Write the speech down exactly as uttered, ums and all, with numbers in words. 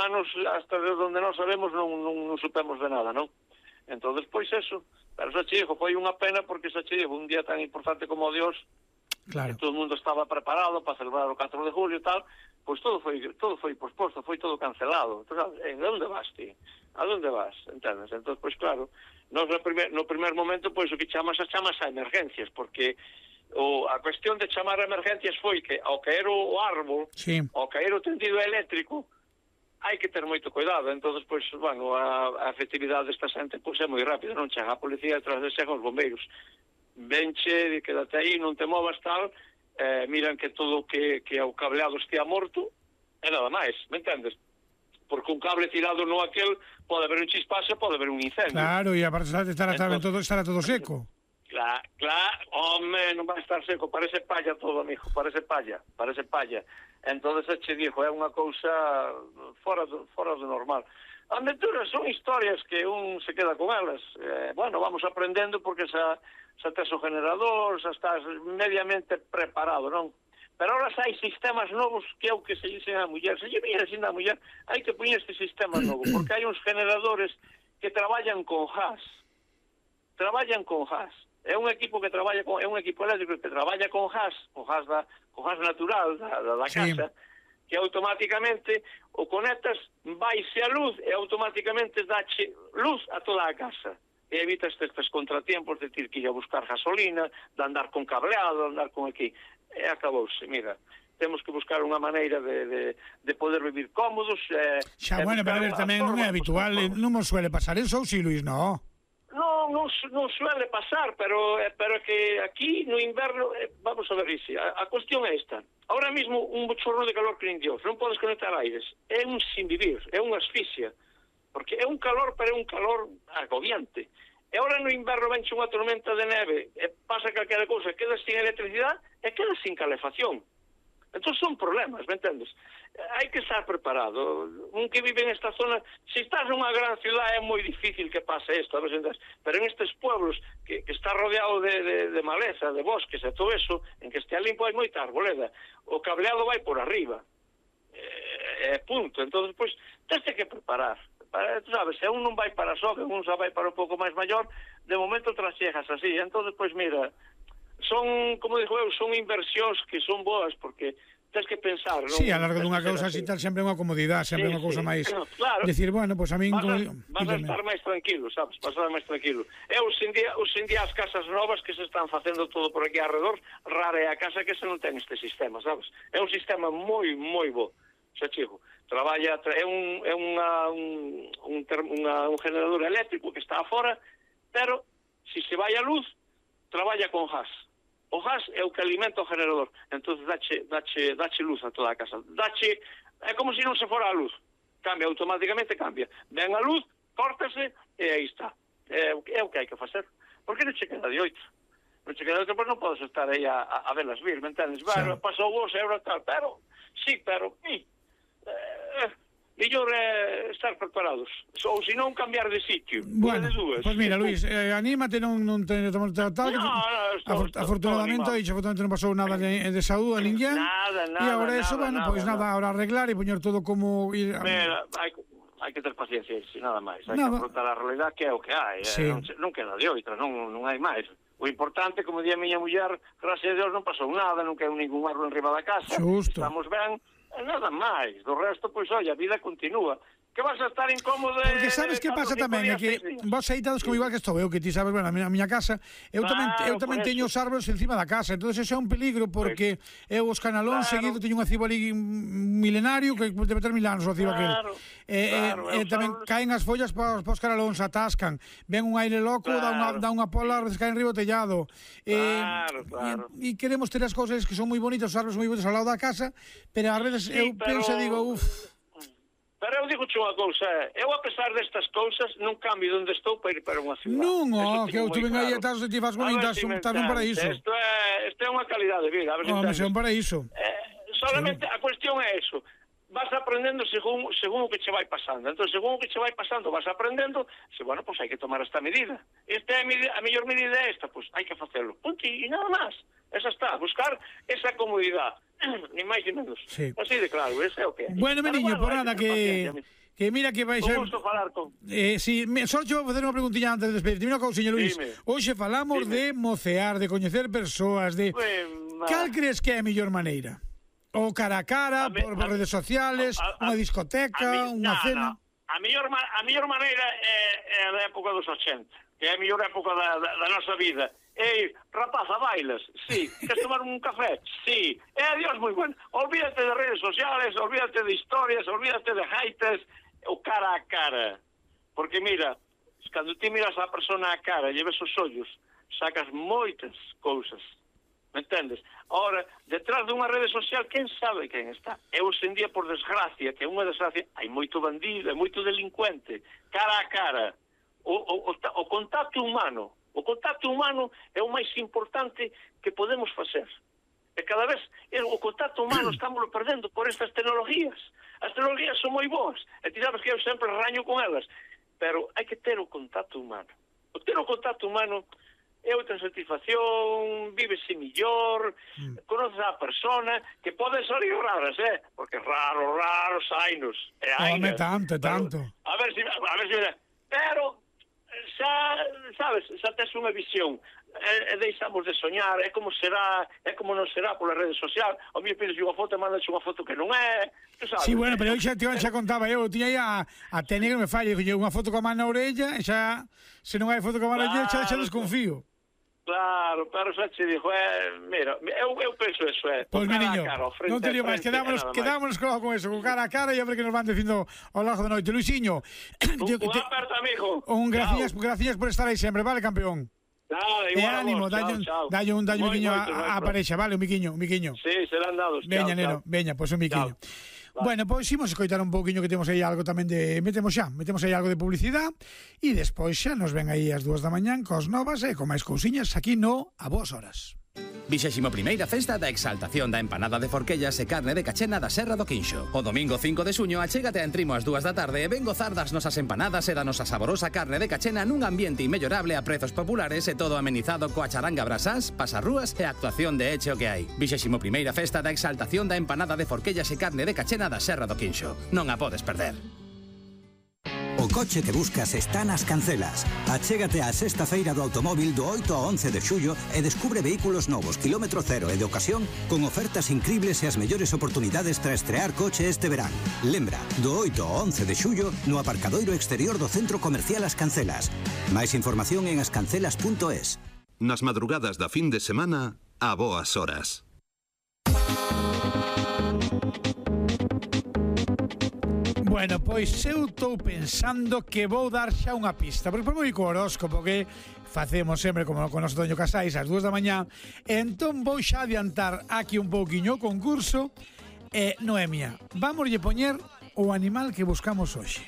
humanos, hasta de donde non sabemos, non, non, non supemos de nada, non? Entón, pois eso, pero xa che digo, foi unha pena porque xa che digo, un día tan importante como o Dios, claro. que todo o mundo estaba preparado para celebrar o catro de julio e tal, pois todo foi todo foi posposto, foi todo cancelado. Entón, en onde vas ti? A onde vas? Entendes? Entón, pois claro, nos no primer, no primer momento, pois o que chamas a chamas a emergencias, porque o, a cuestión de chamar a emergencias foi que ao caer o árbol, sí. ao caer o tendido eléctrico, hai que ter moito cuidado. Entón, pois, bueno, a, a efectividade desta xente pois é moi rápida, non chega a policía detrás de chegan os bombeiros. Venche, quédate aí, non te movas tal, eh, miran que todo que, que o cableado estea morto, e nada máis, me entendes? Porque un cable tirado no aquel, pode haber un chispazo, pode haber un incendio. Claro, e aparte estará, estará, todo, estará todo seco. Claro, claro, home, non vai estar seco, parece palla todo, amigo, parece palla, parece palla. Entonces, che dixo, é unha cousa fora do, fora do normal. As aventuras son historias que un se queda con elas. Eh, bueno, vamos aprendendo porque xa, xa tes o generador, xa estás mediamente preparado, non? Pero ahora hai sistemas novos que é o que se dicen a muller. Se lle viña dicindo a muller, hai que poñer este sistema novo, porque hai uns generadores que traballan con gas. Traballan con gas. É un equipo que traballa con, é un equipo eléctrico que traballa con gas, con gas da, con gas natural da, da, da casa, sí. Que automáticamente o conectas, vaise a luz e automáticamente dache luz a toda a casa. E evitas estes contratiempos de ter que ir a buscar gasolina, de andar con cableado, de andar con aquí. E acabouse, mira. Temos que buscar unha maneira de, de, de poder vivir cómodos. Eh, xa, bueno, pero a ver, tamén non é habitual, non nos suele pasar eso, si, Luis, non? Non, non, non suele pasar, pero pero que aquí no inverno, eh, vamos a ver, Isi, a, a cuestión é esta. Ahora mismo un bochorno de calor que nin Dios, non podes conectar aires, é un sin vivir, é unha asfixia, porque é un calor, pero é un calor agobiante. E ahora no inverno venche unha tormenta de neve, e pasa calquera cousa, quedas sin electricidade e quedas sin calefacción. Entón son problemas, me entendes? Hai que estar preparado. Un que vive en esta zona, se estás nunha gran ciudad é moi difícil que pase isto, pero en estes pueblos que, que está rodeado de, de, de maleza, de bosques e todo eso, en que estea limpo hai moita arboleda, o cableado vai por arriba, é eh, punto. Entón, pois, tens que preparar. Para, tú sabes, se un non vai para só, que un xa vai para un pouco máis maior, de momento trasejas así. Entón, pois, mira, son, como digo eu, son inversións que son boas, porque tens que pensar, non? Sí, a largo dunha cousa así tal sempre é unha comodidade, sempre é sí, unha cousa sí, máis... Claro. Decir, bueno, pois pues a min... Vas, como... a, vas a estar máis tranquilo, sabes? Vas a estar máis tranquilo. E os día, os día as casas novas que se están facendo todo por aquí alrededor, rara é a casa que se non ten este sistema, sabes? É un sistema moi, moi bo. Xa chico, traballa, é un é unha, un, un, unha, un generador eléctrico que está afora, pero se se vai a luz, traballa con gas. O gas é o que alimenta o generador, entón dache, dache, dache luz a toda a casa. Dache, é como se non se fora a luz. Cambia, automáticamente cambia. Ven a luz, córtase e aí está. É, é o que hai que facer. Porque non che queda de oito. Non che queda de oito, pois non podes estar aí a, a, a velas vir, me entendes? Bueno, pasou vos, euro tal, pero, sí, pero, sí, eh, mellor é estar preparados, ou se non cambiar de sitio. Bueno, pois pues mira, Luis, eh, anímate, non, non te tomar tal, tal, no, no, estou, afor, afortunadamente, aí, afortunadamente non pasou nada de, de saúde a ninguén, nada, nada, e agora nada, eso, bueno, pois pues nada, nada, ahora arreglar e poñer todo como ir... Mira, hai, hai que ter paciencia, si, nada máis, hai nada. Que afrontar a realidade que é o que hai, sí. eh, non, non queda de outra, non, non hai máis. O importante, como di a miña muller, gracias a Dios non pasou nada, non quedou ningún árbol enriba da casa, Justo. Estamos ben, nada máis, do resto, pois, oi, a vida continúa. Que vas a estar incómodo... Porque sabes que pasa tamén, é que vos aí como igual que estou eu, que ti sabes, bueno, a miña, a miña casa, eu tamén, eu tamén teño os árboles encima da casa, entón ese é un peligro, porque eu os canalóns claro. Seguido teño un acibo ali milenario, que debe ter mil anos o acibo claro, aquel. E claro, eh, eh, tamén sabes. Caen as follas para os canalóns, atascan, ven un aire loco, claro. dá, unha, dá unha pola, a veces caen riba o tellado. Claro, eh, claro. E, e queremos ter as cousas que son moi bonitas, os árboles moi bonitos ao lado da casa, pero ás veces sí, eu pero... penso e digo, uff... Pero eu digo unha cousa, eu a pesar destas cousas non cambio onde estou para ir para unha ciudad. Non, oh, que eu te ven aí e estás e vas bonitas, estás nun paraíso. Isto é, isto é unha calidade de vida. A ver oh, mas é un paraíso. Eh, solamente sí. A cuestión é eso. vas aprendendo según según o que che vai pasando. Entón, según o que che vai pasando, vas aprendendo, se, bueno, pois pues hai que tomar esta medida. Esta é a, medida, a mellor medida é esta, pois pues hai que facelo. Punto, e nada máis. Esa está, buscar esa comodidade. Ni máis ni menos. Sí. Así de claro, ese é o que é. Bueno, meniño, por nada, que... Que mira que vais... Un gusto falar con... Eh, sí, me, só che vou facer unha preguntilla antes de despedirte. Mira, señor Luís, hoxe falamos Dime. de mocear, de coñecer persoas, de... Pues, cal crees que é a mellor maneira? O cara a cara, a por, por redes sociales, unha discoteca, unha cena... A mellor, a mellor maneira é, é a época dos ochenta, que é a mellor época da, da, da nosa vida. Ei, rapaza, bailas? Sí. Queres tomar un café? Sí. É adiós moi bueno. Olvídate de redes sociales, olvídate de historias, olvídate de haites, o cara a cara. Porque mira, cando ti miras a persona a cara e ves os ollos, sacas moitas cousas. Me entendes? Ahora, detrás dunha rede social, quen sabe quen está? E hoxe en día, por desgracia, que é unha desgracia, hai moito bandido, hai moito delincuente. Cara a cara. O, o, o, o contacto humano. O contacto humano é o máis importante que podemos facer. E cada vez o contacto humano estamos perdendo por estas tecnologías. As tecnologías son moi boas, e ti sabes que eu sempre raño con elas, pero hai que ter o contacto humano. O ter o contacto humano é outra satisfacción, vívese millor, mm. conoces a persona, que pode salir raras, eh? Porque raro, raro, sainos. Home, tanto, tanto. A ver se, a ver se, pero xa, sabes, xa tes unha visión. E, e deixamos de soñar, é como será, é como non será pola rede social. O mío pides unha foto e mandas unha foto que non é, tu sabes. Sí, bueno, pero eu xa, xa contaba, eu tiña aí a, a técnica que me falla, unha foto con a man na orella, e xa, se non hai foto con a man na orella, xa, xa desconfío. Claro, pero xa che dixo, eh, mira, eu, eu penso eso, é. Pois, pues, meniño, non te digo máis, quedámonos, quedámonos con eso, con cara a cara, e a ver que nos van dicindo ao largo da noite. Luisiño, un, un aperto, amigo. Un gracias, gracias por estar aí sempre, vale, campeón? Nada, e ánimo, dalle un, dalle un miquiño a, a parexa, vale, un miquiño, un miquiño. Sí, serán dados. Veña, neno, veña, pois un miquiño. Vale. Bueno, pois imos escoitar un pouquiño que temos aí algo tamén de... Metemos xa, metemos aí algo de publicidade e despois xa nos ven aí as dúas da mañán cos novas e con máis cousiñas aquí no A Boas Horas. Vixésimo primeira festa da exaltación da empanada de forquellas e carne de cachena da Serra do Quinxo. O domingo cinco de suño achégate a Entrimo ás dúas da tarde e ven gozar das nosas empanadas e da nosa saborosa carne de cachena nun ambiente inmellorable a prezos populares e todo amenizado coa charanga brasás, pasarrúas e actuación de eche o que hai. Vixésimo primeira festa da exaltación da empanada de forquellas e carne de cachena da Serra do Quinxo. Non a podes perder. O coche que buscas está nas Cancelas. Achégate á sexta feira do automóvil do oito ao once de xullo e descubre vehículos novos, kilómetro cero e de ocasión con ofertas increíbles e as mellores oportunidades para estrear coche este verán. Lembra, do oito ao once de xullo no aparcadoiro exterior do Centro Comercial As Cancelas. Máis información en ascancelas punto es. Nas madrugadas da fin de semana, a boas horas. Bueno, pois eu estou pensando que vou dar xa unha pista, porque por moi co horóscopo que facemos sempre como con noso Toño Casais ás dúas da mañá, entón vou xa adiantar aquí un pouquiño o concurso. E, Noemia, vámoslle poñer o animal que buscamos hoxe.